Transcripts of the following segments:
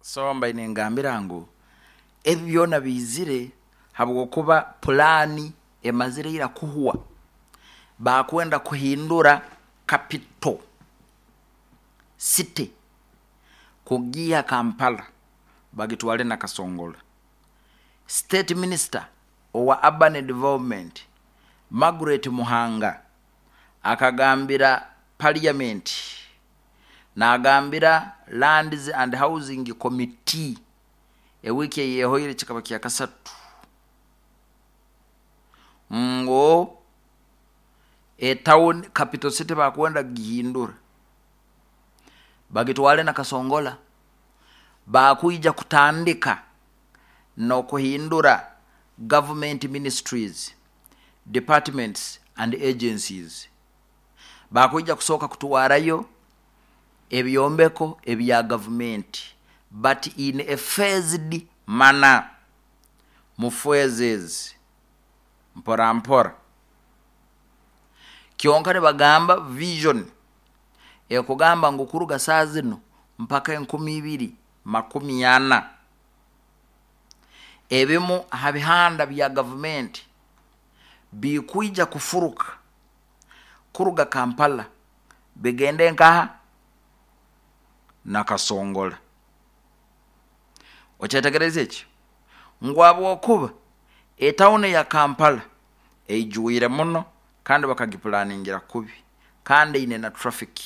So mbaire ningambira ngu ebi byona biizire habwokuba pulaani emazire ira kuhwa. Bakwenda kuhindura capital city kugiiha Kampala bagitwale Nakasongola. State Minister owa Urban Development Margaret Muhanga akagambira Parliament nagambira Lands and Housing Committee ewiiki eyehoire, kikaba kyakasatu, ngu etown capital city bakwenda kugihindura bagitwale Nakasongola. Bakwija kutandika n'okuhindura government ministries, departments and agencies. Bakwija kusooka kutwarayo ebyombeko ebya gavumenti, but in a phased manner, mu phases, mpora mpora. Kyonka nibagamba vision ekugamba ngu kuruga saa zino mpaka 2040, ebimu ha bihanda bya gavumenti bikwija kufuruka kuruga Kampala bigende nkaha? Nakasongola. Okyetegereza ekyo ngu habwokuba etawuni ya Kampala eijwire muno kandi bakagipulaningira kubi, kandi eine na traffic,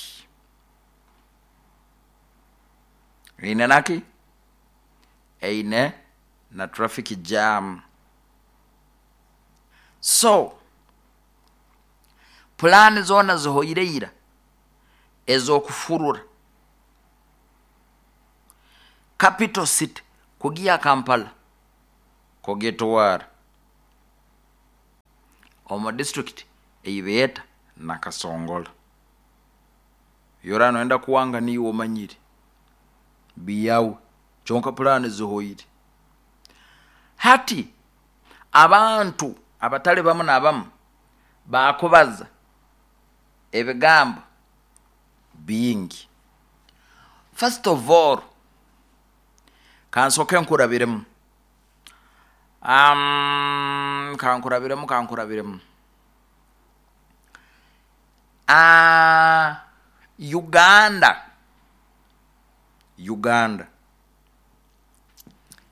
eine naki, eine na traffic jam. So pulaani zoona zihoire ira ez'okufurura capital city kugiha Kampala kugitwara omu district ei beeta Nakasongola. Yora noyenda kuwanga niiwe omanyire biyawe, kyonka pulaani zihoire. Hati abantu abatali bamu n'abamu bakubaza ebigambo bingi. First of all, kansooke nkurabiremu, kankurabiremu. Uganda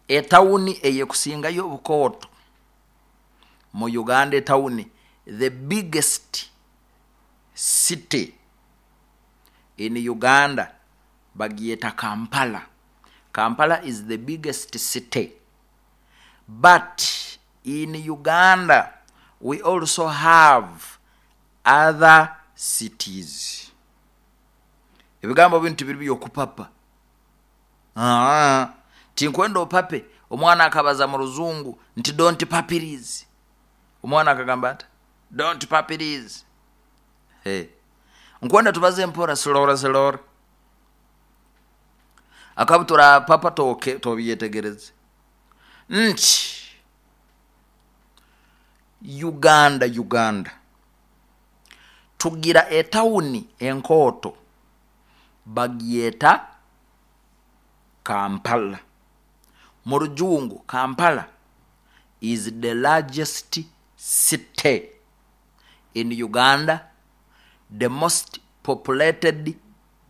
etawuni eyekusingayo obukooto mu Uganda, etawuni, the biggest city in Uganda, bagyeta Kampala. Kampala is the biggest city, but in Uganda we also have other cities. Ebigambo binu tibiri byokupapa. Tinkwenda opape. Omwana akabaza mu ruzungu nti "Don't papiris." Omwana akagamba ati, "Don't papiris." Hey. Nkwenda tubaze mpora, slowly slowly, akabutura papa toke tobyetegereze nti Uganda tugira etawuni enkooto bagyeta Kampala. Mu rujungu, Kampala is the largest city in Uganda, the most populated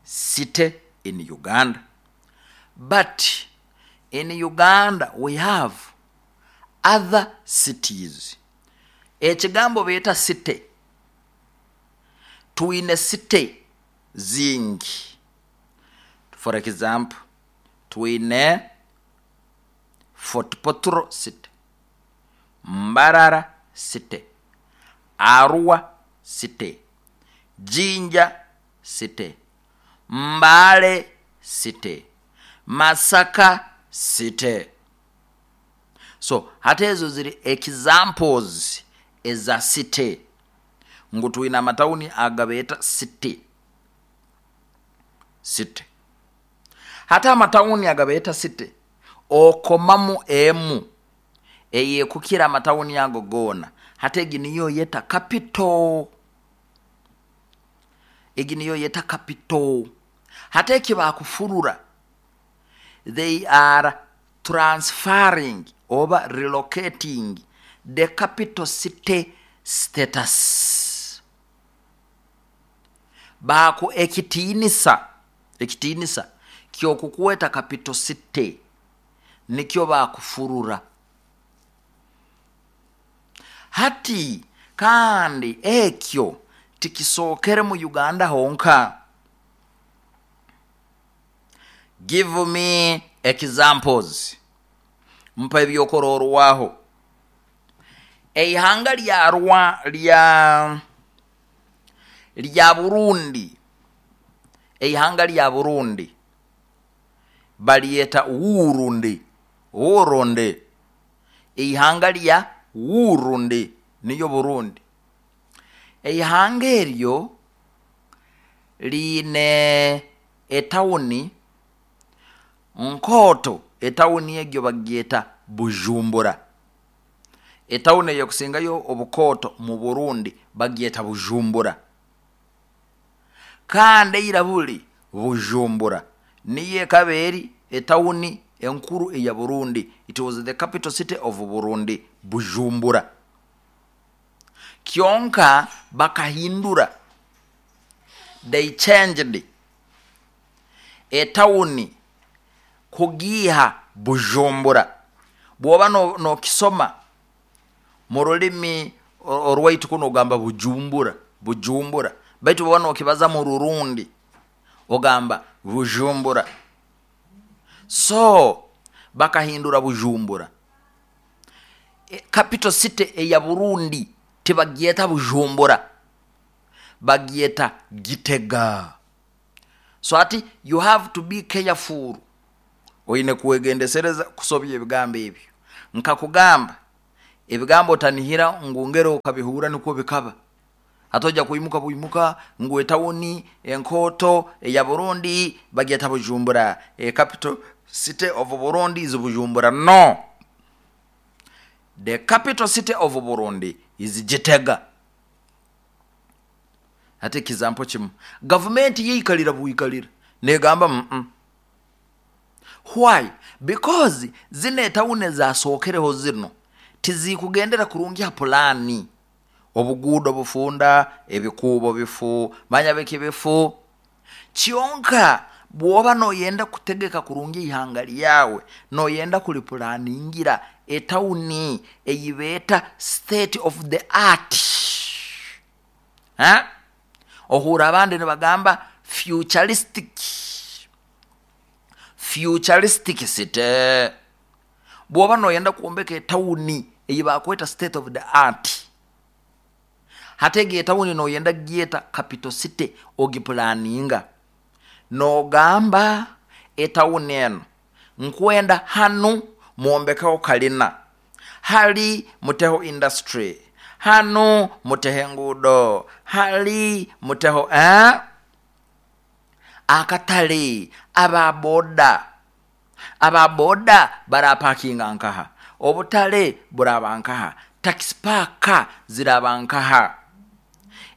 city in Uganda, but in Uganda we have other cities. Ekigambo beeta city, twine city zingi. For example, twine Fort Portal City, Mbarara City, Arua City, Jinja City, Mbale City, Masaka City. So hati ezo ziri examples eza city, ngu twine amatawuni agabeeta city. City, hati amatawuni agabeeta city, okomamu emu eyekukira amatawuni ago goona. Hati egi niyo yeta capital, egi niyo yeta capital. Hati eki bakufurura They are transferring oba relocating the capital city status. Baku ekitiinisa, ekitiinisa kyokukweta capital city nikyo bakufurura hati. Kandi ekyo tikisookere mu Uganda honka. Give me examples, mpa ebyokurorwaho. Eihanga lya rwa lya Burundi, eihanga lya Burundi balyeta Wurundi. Wurundi, eihanga lya Wurundi niyo Burundi. Eihanga eryo liine etawuni nkooto, etawuni egyo bagyeta Bujumbura. Etawuni eyekusingayo obukooto mu Burundi bagyeta Bujumbura, kandi eira buli Bujumbura niyo ekaba eri etawuni enkuru eya Burundi. It was the capital city of Burundi, Bujumbura. Kyonka bakahindura, they changed etawuni kugiiha Bujumbura. Bwoba nokisoma mu rulimi orwaitu kuno ogamba Bujumbura, Bujumbura, baitu bwoba nokibaza mu Rurundi ogamba Bujumbura. So bakahindura Bujumbura. Capital city eya Burundi tibagyeta Bujumbura, bagyeta Gitega. So ati you have to be careful, oine kwegendesereza kusobya ebigambo ebyo. Nkakugamba ebigambo otanihira ngu ngero okabihura nikwo bikaba. Hati kuimuka buimuka ngu etawuni enkooto eya Burundi bagyeta Bujumbura, e capital city of Burundi is Bujumbura. No, the capital city of Burundi is Gitega. Hati ekizampo kimu, gavumenti yeikalira bwikalira negamba Why? Because zino etawuni ezasookereho zino tizikugendera kurungi ha pulaani. Obuguudo bufunda, ebikuubo bifu, manya biki bifu. Kyonka bwoba noyenda kutegeka kurungi ihanga lyawe, noyenda kulipulaningira etawuni eyibeeta state of the art. Ha? Ohura abandi nibagamba futuristic, futuristic city. Bwoba noyenda kwombeka etawuni eyibakweta state of the art, hati egi etawuni noyenda gyeta capital city, ogipulaninga nogamba etawuni eno nkwenda hanu mwombekeho kalina, hali muteho industry, hanu muteho enguudo, hali muteho akatale, ababoda, ababoda barapakinga nkaha, obutale buraba nkaha, taxi park ziraba nkaha.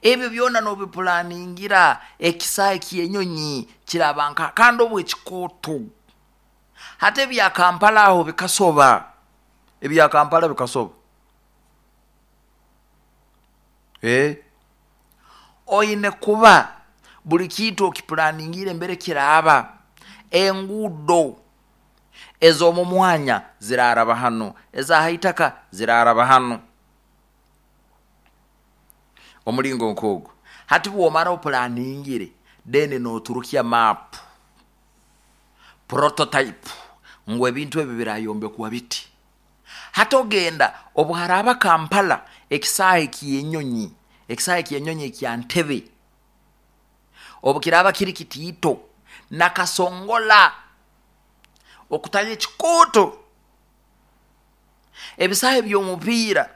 Ebyo byona nobipulaningira. Ekisaayi kyenyonyi kiraba nkaha, kandi obu ekikooto. Hati ebya Kampala aho bikasoba, ebya Kampala bikasoba. Oine kuba buli kintu okipulaningiire mbere kiraaba. Enguudo ez'omu mwanya ziraraba hanu, ezahaitaka ziraraba hanu, omulingo nk'ogwo. Hati bwomara opulaningire, then noturukya map prototype ngu ebintu ebi birayombekwa biti. Hati ogenda obu haraaba Kampala ekisaahi ky'enyonyi, ekisaahi ky'enyonyi ekya Ntebe obu kiraaba kiri kitiito, nakasongola okutayo ekikooto. Ebisaahi by'omupiira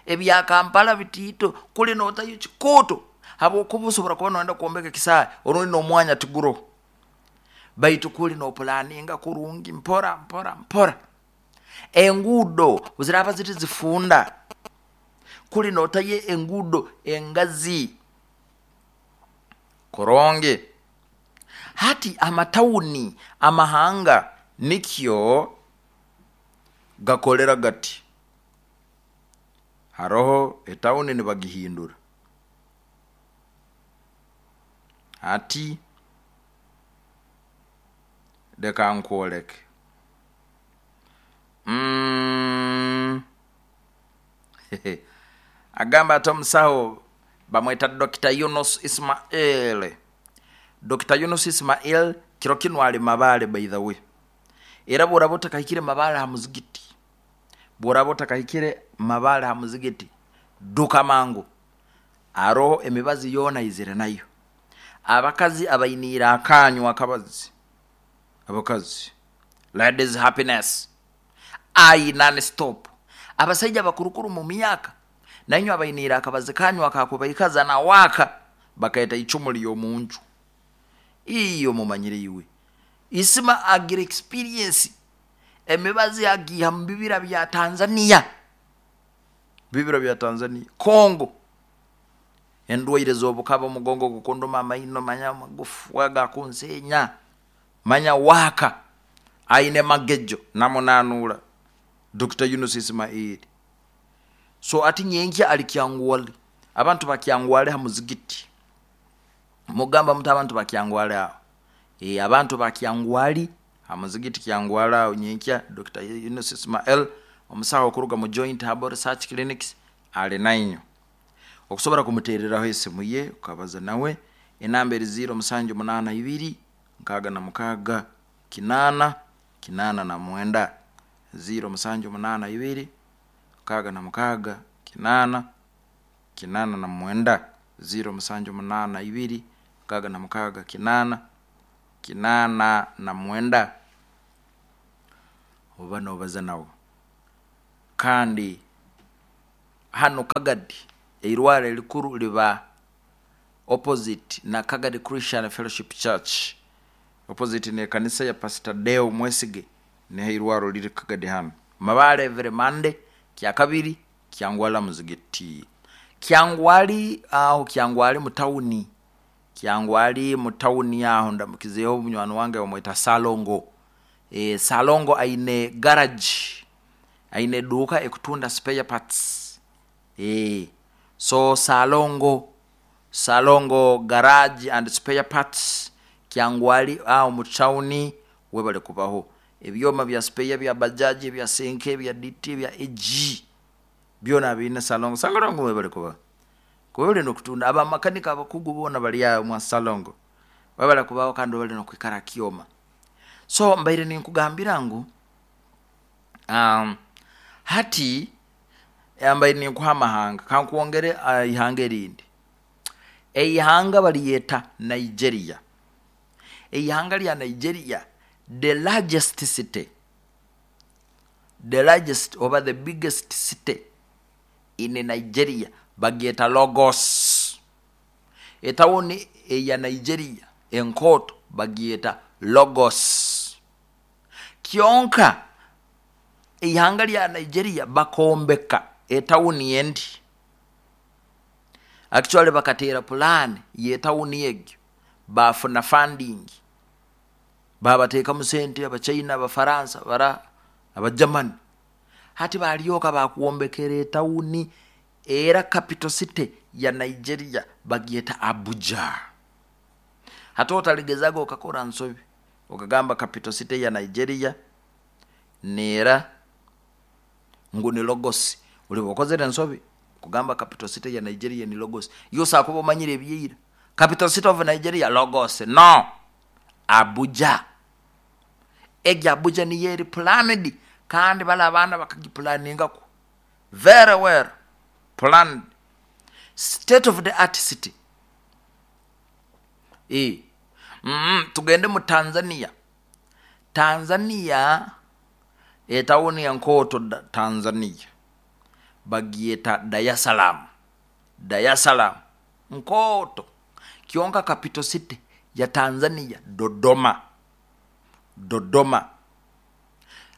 ebya Kampala bitiito, kuli notayo ekikooto, habwokuba osobora kuba noyenda kwombeka ekisaahi orundi n'omwanya tiguroho, baitu kuli nopulaninga kurungi mpora mpora mpora. Enguudo ziraaba ziri zifunda, kuli notayo enguudo engazi kurungi. Hati amatawuni amahanga nikyo gakolera gati. Haroho etawuni nibagihindura. Hati leka nkwoleke. Agamba ati omusaho bamweta Dr. Yunus Ismail. Dr. Yunus Ismail kiro kinu ali Mabale, by the way. Era bworaba otakahikire Mabale ha muzigiti, bworaba otakahikire Mabale ha muzigiti, duka mangu. Aroho emibazi yoona aizire nayo. Abakazi abainiire akanyu akabazi, abakazi, ladies happiness, ai non stop. Abasaija abakurukuru mu myaka, nainywe abainiire akabazi kanyu akakubaikaza na waaka, bakaeta icumu ly'omunju. Iyo mumanyire iwe. Isima agira experience, emibazi agiiha mu bibira bya Tanzania. Bibira bya Tanzania, Congo. Endwaire z'obukaba, omugongo gukunduma, amaino, manya amagufu agakunsenya, manya waaka aine magejo namunanuura Dr. Yunus Ismail. So ati nyenkya ali Kyangwali. Abantu ba Kyangwali ha muzigiti. Mugamba muti abantu ba Kyangwali aho. Abantu ba Kyangwali ha muzigiti Kyangwali aho nyenkya Dr. Yunus Ismail omusaho okuruga mu Joint Herbal Research Clinics ali nainyo. Okusobora kumutereraho esimu ye ukabaza nawe, enamba eri 0 7 8 2 66 8 89 0 7 8 2 66 8 89 0 7 8 2 66 8 89 oba nobaza nawe. Kandi hano Kagadi eirwaro erikuru liba opposite na Kagadi Christian Fellowship Church, opposite n'ekanisa ya Pastor Deo Mwesige, niho eirwaro liri Kagadi hano. Mabale every Monday, Kyakabiri, Kyangwali muzigiti. Kyangwali aho Kyangwali mu tawuni. Kyangwali mu tawuni aho ndamukizeeho munywani wange bamweta Salongo. Salongo aine garage, aine eduuka ekutunda spare parts. So Salongo, Salongo garage and spare parts Kyangwali aho mu tawuni webale kubaho. Ebyoma bya spare bya bajaji, ebya senke, ebya DT, ebya AG byona abiine Salongo. Salongo webale kubaho. Kuba nokutunda abamakanika abakugu boona bali aho mwa Salongo. Webale kubaho kandi webale nokwikara kyoma. So mbaire ninkugambira ngu hati mbaire ninkuha amahanga, kankwongere ihanga erindi. Eihanga baliyeta Nigeria. Eihanga lya Nigeria, the largest city, the largest oba the biggest city in Nigeria bagyeta Lagos. Etawuni eya Nigeria enkooto bagyeta Lagos. Kyonka eihanga lya Nigeria bakombeka etawuni endi. Actually bakateera plan y'etawuni egyo, bafuna funding, babateekamu sente Abachina, Abafaransa, bara Abagermany. Hati balyoka bakwombekera etawuni era capital city ya Nigeria bagyeta Abuja. Hati otaligezaga okakora nsobi okagamba capital city ya Nigeria neera ngu ni Lagos. Oliba okozere ensobi kugamba capital city ya Nigeria ni Lagos. Yo kuba omanyire ebyeira. Capital city of Nigeria Lagos. No. Abuja. Egi Abuja niyo eri planned kandi bali abaana bakagiplaningako very well planned, state of the art city. Tugende mu Tanzania. Tanzania etawuni enkooto Tanzania bagyeta Dar es Salaam. Dar es Salaam nkooto, kyonka capital city ya Tanzania Dodoma. Dodoma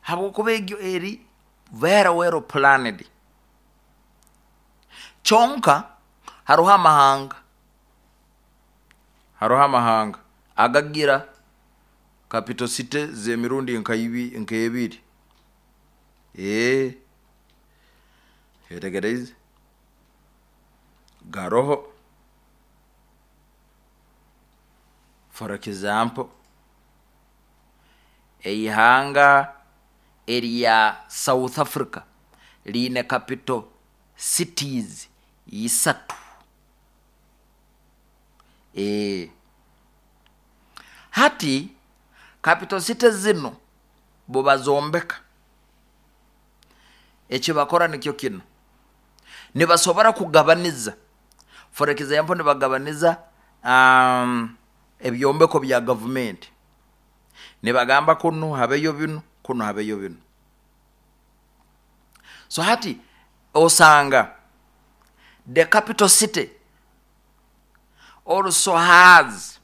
habwokuba egyo eri very well planned. Kyonka haroho amahanga, haroho amahanga Agagira capital city z'emirundi nk'ebiri. Wetegereize? Garoho. For example, eihanga erya South Africa riine capital cities isatu. Hati capital city zinu bubazombeka, ekibakora nikyo kinu, nibasobora kugabaniza. For example, nibagabaniza ebyombeko bya gavumenti, nibagamba kunu habeyo binu, kunu habeyo binu. So hati osanga the capital city also has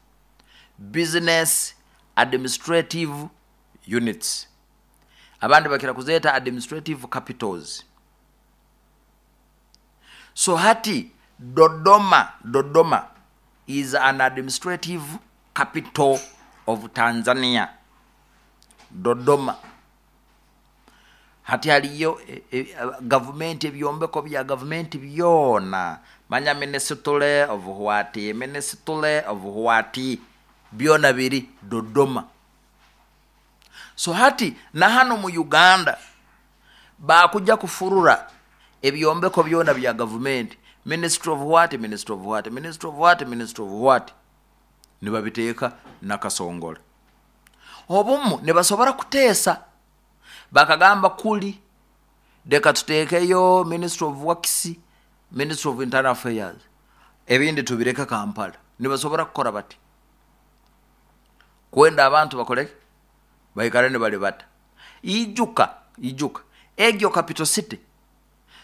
business administrative units, abandi bakira kuzeeta administrative capitals. So hati Dodoma is an administrative capital of Tanzania. Dodoma. Hati haliyo gavumenti, ebyombeko bya gavumenti byona, manya ministry of what, ministry of what, byona biri Dodoma. So hati na hanu mu Uganda bakuja kufurura ebyombeko byona bya gavumenti, ministry of what, ministry of what, ministry of what, ministry of what, nibabiteeka Nakasongola. Obumu nibasobora kuteesa bakagamba kuli leka tuteekeyo ministry of works, ministry of internal affairs, ebindi tubireke Kampala. Nibasobora kukora bati kwenda abantu bakoleke baikare nibalibata. Ijuka egyo capital city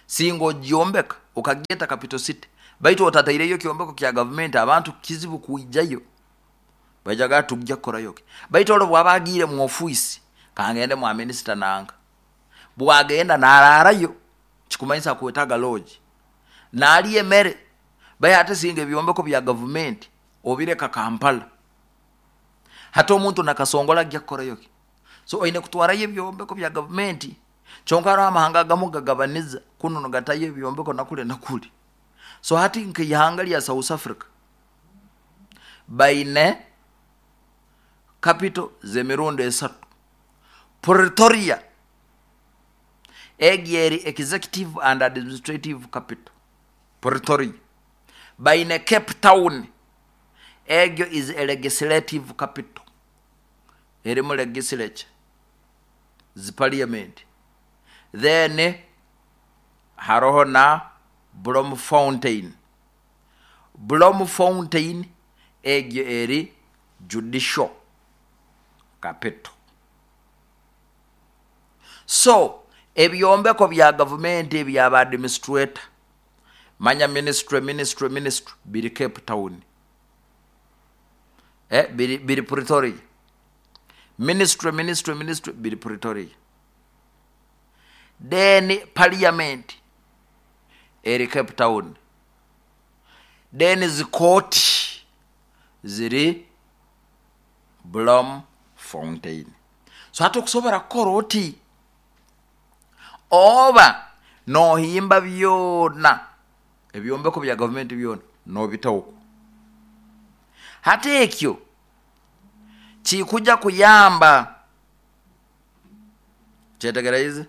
singa ogyombeka okagyeta capital city, baitu otataireyo kyombeko kya gavumenti, abantu kizibu kwijayo, baijaga tujja kukorayo ki. Baitu ole bwaba agiire mu ofiisi, kangende mwa minisita nanka, bwagenda nararayo, kikumanyisa akwetaga lodge, nalya emere. Bai ate singa ebyombeko bya gavumenti obireka Kampala, hati omuntu Nakasongola ajja kukorayo ki? So oine kutwarayo ebyombeko bya gavumenti. Kyonka haroho amahanga agamu gagabaniza, kunu nigatayo ebyombeko nakuli nakuli. So hati nk'eihanga lya South Africa baine capital z'emirundi esatu. Pretoria egi eri executive and administrative capital, Pretoria. Baine Cape Town, egyo is a legislative capital, erimu legislature, zi parliament. Then haroho na Bloemfontein. Bloemfontein egyo eri judicial capital. So ebyombeko bya gavumenti ebyaba administrator, manya ministry, ministry, ministry, biri Cape Town, biri Pretoria. Ministry, ministry, ministry biri Pretoria. Then parliament eri Cape Town. Then zikooti ziri Bloemfontein. So hati okusobora kukora oti, oba nohimba byona ebyombeko bya gavumenti byona nobita oku. Hati ekyo kikuja kuyamba, kyetegereize?